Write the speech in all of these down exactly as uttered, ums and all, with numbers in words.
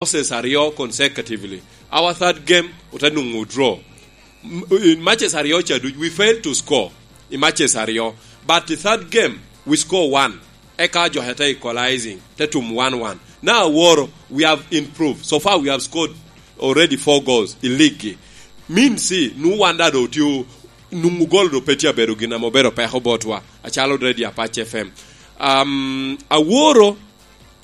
losses aryo consecutively. Our third game, ote nwoŋo draw. M-, in matches aryo ca duc, we failed to score i matches aryo. But the third game, we score one. Eka jo te equalizing, te tum one one. Now, Aworo, we have improved. So far, we have scored already four goals i league. Means, see, nu wan da do tio, nwoŋo gol do pe tye abedo gin ame obedo peko botwa, acalo Radio Apac F M. Um, Aworo,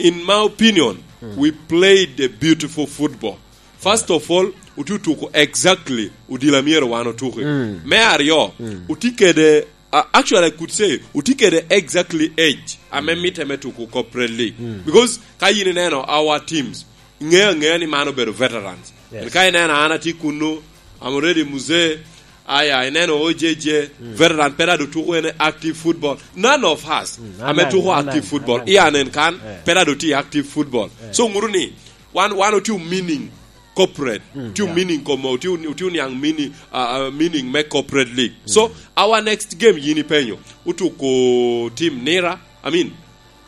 in my opinion, we played a beautiful football. First of all, otye otuko exactly odilo a myero wan otuki. Me aryo, otye kede, uh, actually, I could say, otye kede exactly age ame mitte me tuko Corporate League. Because ka yin ineno our teams, iŋeo aŋea ni man obedo veterans. Yes. Ka ineno an atye kunnu, I'm already mzee, aya, ineno O J J, veteran pe dado tuko en active football. None of us ame tuko active football. Ian en kan, pe dado tye active football. So, ŋuru ni, wan, wan otye meaning Corporate, otye meaning komo, otye, otye oniaŋ meaning, uh, uh, meaning me Corporate League. So, our next game, yin ipenyo, otuko team Nira, I mean,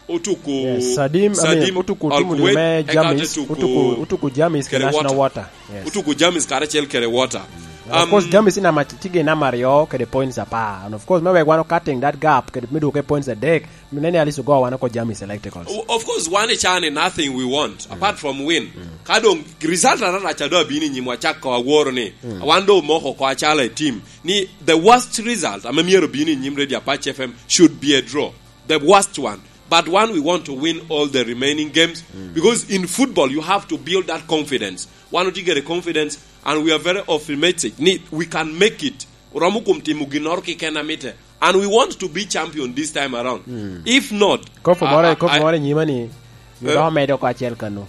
otuko Yes, Sadim, I mean, Sadim otuko Al timu Kuwait, me eka Jamis, te tuko otuko, otuko Jamis kede National Water. Water. Yes. Otuko Jamis karacel kede Water. Now, of course, Um, Jamis in ama, tye gin namba aryo kede points apar. And of course, me wek wan o cutting that gap, kede me duke points adek, me nene at least ogo wan oko Jamis Electricals. O-, of course, wan i cani nothing we want, apart from win. Ka doŋ result ararac a doŋ abino i nyimwa, cako Aworo ni, wan doŋ omoko oko acalo a team, ni the worst result ame myero obino i nyim Radio Apac F M should be a draw. The worst one. But one, we want to win all the remaining games, because in football, you have to build that confidence. Wan otye kede confidence, and we are very optimistic ni we can make it. Oromo kom timo ginnoro keken a mitte. And we want to be champion this time around. If not, Kopo I, more, I, kopo I, more nyima ni, eh? Dok medo oko acel kano.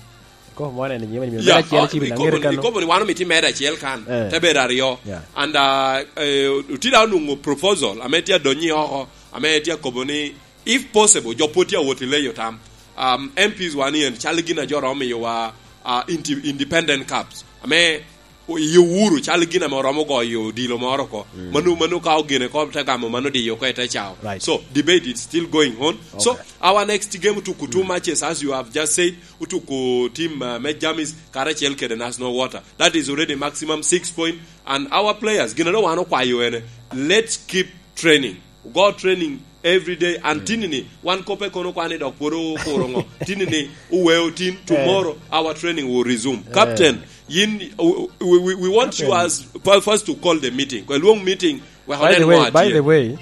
Kopo more ni nyima ni, medo Yeah, acel oh, ci bi ikopo ni, kano. Ikopo ni wan omito imedo acel kan, Eh. te bedo aryo. Yeah. And, uh, eh, otida onwoŋo proposal, ame tye adonyo oko, ame tye akobo ni, if possible, jo pwod tye awot i leyo tam. Um, M Ps wan yen, cal gin a jo romo miyowa, uh, inti-, independent cups. Ame o-, i Uhuru, cal gin ame oromo goyo odilo moro oko. Mano, mano ka ogene ko te gamo mano diyo oko i te cao. Right. So, debate is still going on. So, Okay. our next game otuko two matches, as you have just said, otuko team, uh, me Jamis, karacel kede National Water. That is already maximum six point, and our players, gin a doŋ wan okwayo ene, let's keep training. Go training every day, and tini ni, wan kope kono kwan ni dok pwod okuro ŋo. Tini ni, uweo tin, tomorrow, our training will resume. Captain, yin, we, we, we want you Captain. as, fir-, first to call the meeting. Kwa luong meeting, wek By the onen way, ŋo by atye. the way,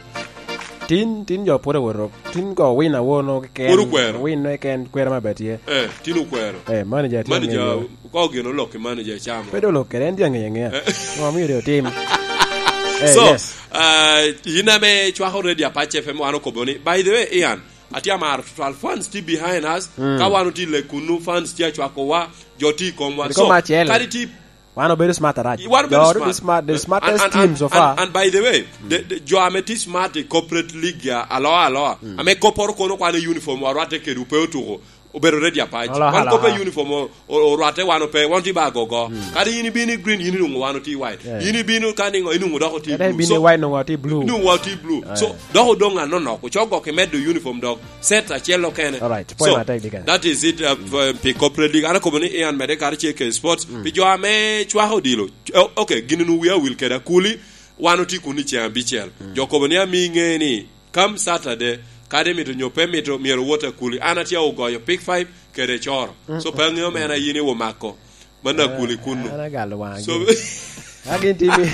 tin, tin jo pwod owoto, tin go win awono keken. Pwod okwero. Win no keken kwero ma bet ye. Eh, tin okwero. Eh, manager tye Manager, ang'eyo. Ka ogeno lok i manager chamo. Pe dolo kede, en tye ang'eyo ang'eya. Eh. Ŋo omio de otim? Eh, So, yes. uh, in ame cwako Radio Apac F M, wan okobo ni, by the way, Ian, atye amaro tutwal. Fans tye behind us. Mm. Ka wan otye le kunu, fans tye acwakowa, jo tye i komwa. Kodi So, koma acel. kadi tye Wan obedo smart arac. Wan obedo Jo obedo smart. smart, the And, smartest and, and, team so and, far. and by the way, the, the, jo ame tye smart i Corporate League ya, aloa, aloa. Mm. Ame kopporo kono kwan i uniform wa rwatte kede ope otuko. Obedo Radio Apac. Aloha, Wan kope aloha. uniform o-, o-, orwatte wan ope, wan tye ba gogo. Mm. Kadi in ibino i green, in inwoŋo wan otye i white. Yeah. In ibino ka niŋo, inwoŋo dok otye Kadi blue. ibino So, i white, nwoŋo otye blue. inwoŋo wan otye blue. Yeah. So, dok odong anonok. Ocok gok i medo uniform dok. Set acel okene. All right. Point So, matek, Deacon. that is it, uh, for, pi Corporate League. An akobo ni Ian mede kare ce ke sports. Mm. Pi jo ame cwako odilo. Oh, okay, gin nu wia wil keda kuli. Wan otye kun i ceng abicel. Mm. Jo kobo ni ami ŋe ni Come Saturday, kadi mito nyo pe mito, myero wot akuli. An atye ogoyo pick five kede coro. Mm, So, pe aŋeo mm, mena yin iwo mako. Mano akuli kunno. An agalo waŋgi. So, Agin timi.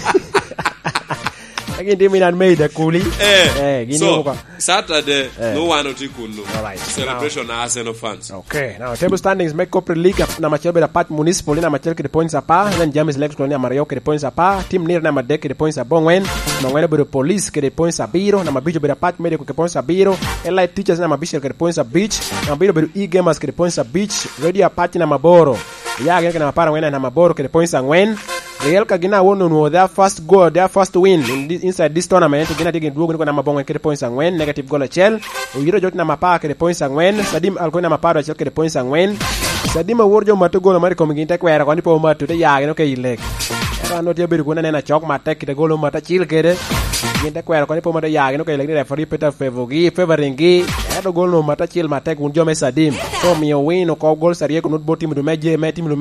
Agin timi nan made akuli. Eh, Eh, gin so, iwo ko. Saturday, Eh. no wan otye kunno. All right. Celebration Now, na Arsenal fans. Okay, now table standings me Corporate League, ap-, namba acel bedo Apac Municipal, namba acel kede points apar, then James Electrical namba aryo kede points apar, Team Nira namba adek kede points abongwen, namba angwen obedo Police kede points abiro, namba abic obedo Apac Medical kede points abiro, Elite Teachers namba abicel kede points abic, namba abiro obedo E-Gamers kede points abic, Radio Apac namba aboro, ya gin kede namba apar angwen, namba aboro kede points angwen, Real ka gin awono onwoŋo their first goal, their first win in this, inside this tournament. Gin atye gin dwogo ni kong namba abongwen kede points angwen, negative goal acel. Oyito Jok namba apar kede points angwen. Sadim Alkoi namba apar acel kede points angwen. Sadim awor jo mato gol omaro i komgi, gin te kwero koni pe omato, te ya gin oke i lek. Ento an tye abedo kun aneno acok matek kite gol omato acil kede. Gin te kwero koni pe omato, ya gin oke i lek ni referee pe te favogi, favoring gi. Ento gol no mat acel matek wun jo me Sadim. Te omio win oko gol Sarieko nut bot timo du me je, me timo du